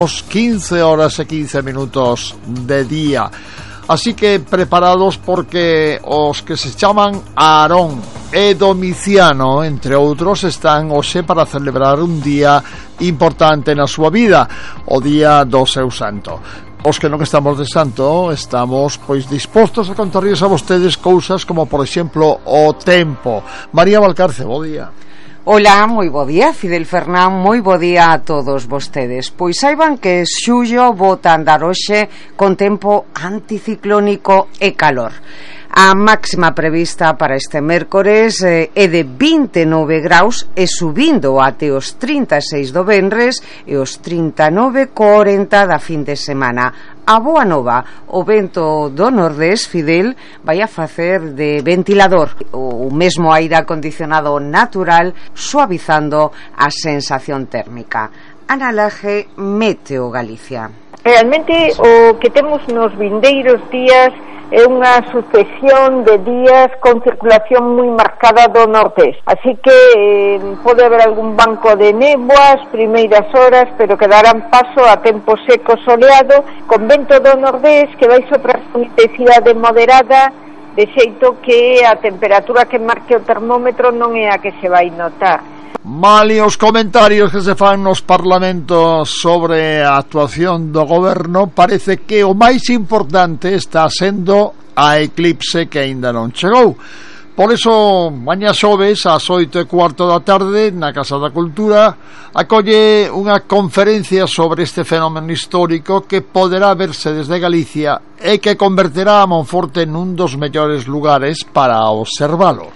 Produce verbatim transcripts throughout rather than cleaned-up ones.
quince horas e quince minutos de día. Así que preparados, porque os que se chaman Aarón e Domiciano, entre outros, están hoxe para celebrar un día importante na súa vida, o día do seu santo. Os que non estamos de santo estamos pois dispostos a contarlles a vostedes cousas como, por exemplo, o tempo. María Valcarce, bo día. Ola, moi bo día, Fidel Fernán, moi bo día a todos vostedes. Pois saiban que xullo bota andar hoxe con tempo anticiclónico e calor. A máxima prevista para este mércores eh, é de vinte e nove graus e subindo até os trinta e seis do venres e os trinta e nove corenta da fin de semana. A boa nova, o vento do nordés, Fidel, vai a facer de ventilador, o mesmo aire acondicionado natural, suavizando a sensación térmica. Ana Laje, Meteo Galicia. Realmente o que temos nos vindeiros días é unha sucesión de días con circulación moi marcada do nordés, así que eh, pode haber algún banco de néboas primeiras horas, pero que darán paso a tempo seco soleado con vento do nordés que vai soprar con intensidade moderada, de xeito que a temperatura que marque o termómetro non é a que se vai notar. Mali os comentarios que se fan nos parlamentos sobre a actuación do goberno. Parece que o máis importante está sendo a eclipse que aínda non chegou. Por eso, mañá xoves ás oito e cuarto da tarde na Casa da Cultura acolle unha conferencia sobre este fenómeno histórico que poderá verse desde Galicia e que converterá a Monforte nun dos mellores lugares para observalo.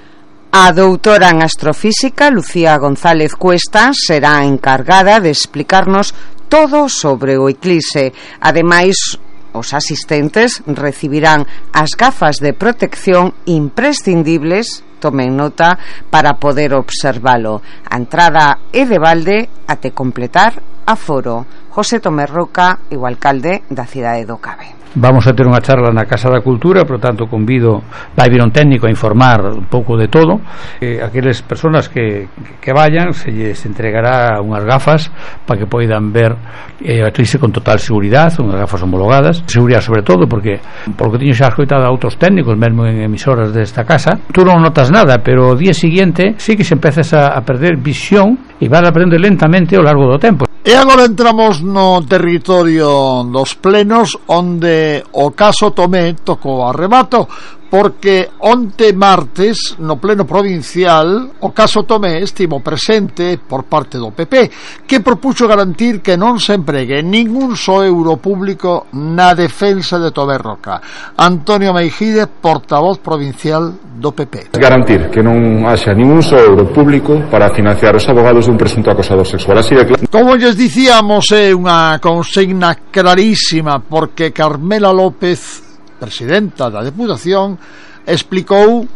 A doutora en astrofísica, Lucía González Cuesta, será a encargada de explicarnos todo sobre o eclipse. Ademais, os asistentes recibirán as gafas de protección imprescindibles, tomen nota, para poder observalo. A entrada é de balde até completar aforo. José Tomé Roca, o alcalde da cidade do Cabe. Vamos a ter unha charla na Casa da Cultura, por tanto convido, vai vir un técnico a informar un pouco de todo. eh, aqueles persoas que, que vayan, se lles entregará unhas gafas para que poidan ver eh, a eclipse con total seguridade, unhas gafas homologadas, seguridade sobre todo, porque por lo que teño xa escoitado a outros técnicos mesmo en emisoras desta casa, tú non notas nada, pero o día seguinte sí que se empezas a, a perder visión e vas a aprender lentamente ao largo do tempo. E agora entramos no territorio dos plenos, onde o caso Tomé tocou arremato, porque onte martes no pleno provincial o caso Tomé estivo presente por parte do P P, que propuxo garantir que non se empregue ningún só euro público na defensa de Tomé Roca. Antonio Meijide, portavoz provincial do P P. Garantir que non haxa ningún só euro público para financiar os abogados dun presunto acosador sexual. Así de claro. Como lles dicíamos, é unha consigna clarísima, porque Carmela López, presidenta da Deputación, explicou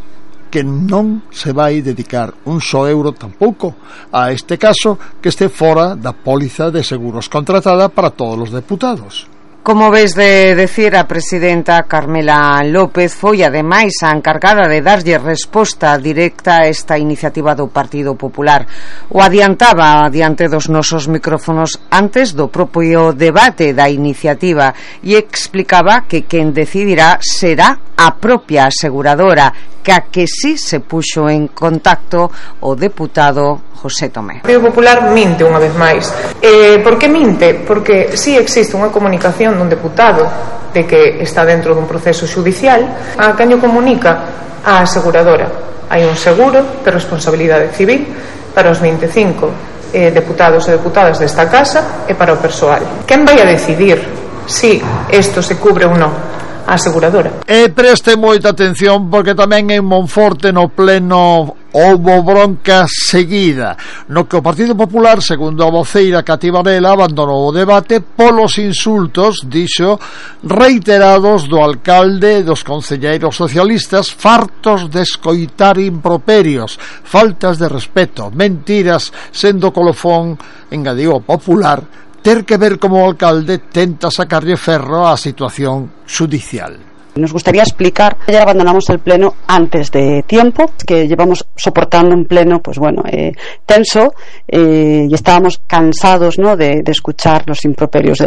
que non se vai dedicar un só euro tampouco a este caso que este fora da póliza de seguros contratada para todos os deputados. Como ves de decir, a presidenta Carmela López foi ademais a encargada de darlle resposta directa a esta iniciativa do Partido Popular. O adiantaba diante dos nosos micrófonos antes do propio debate da iniciativa e explicaba que quen decidirá será a propia aseguradora, que a que sí se puxo en contacto o deputado José Tomé. O Partido Popular minte unha vez máis. Eh, por que minte? Porque si sí existe unha comunicación dun deputado de que está dentro dun proceso judicial, a quen o comunica a aseguradora. Hai un seguro de responsabilidade civil para os vinte e cinco eh, deputados e deputadas desta casa e para o persoal. Quen vai a decidir si isto se cubre ou non? A aseguradora. E preste moita atención, porque tamén en Monforte no pleno houbo bronca seguida, no que o Partido Popular, segundo a voceira Cati Varela, abandonou o debate polos insultos, dixo, reiterados do alcalde e dos concelleiros socialistas, fartos de escoitar improperios, faltas de respeto, mentiras, sendo colofón, engadiu o Popular, ter que ver como o alcalde tenta sacarlle ferro á situación judicial. Nos gustaría explicar que ayer abandonamos el pleno antes de tiempo, que llevamos soportando un pleno, pues bueno, eh, tenso, eh, y estábamos cansados, ¿no?, de, de escuchar los improperios del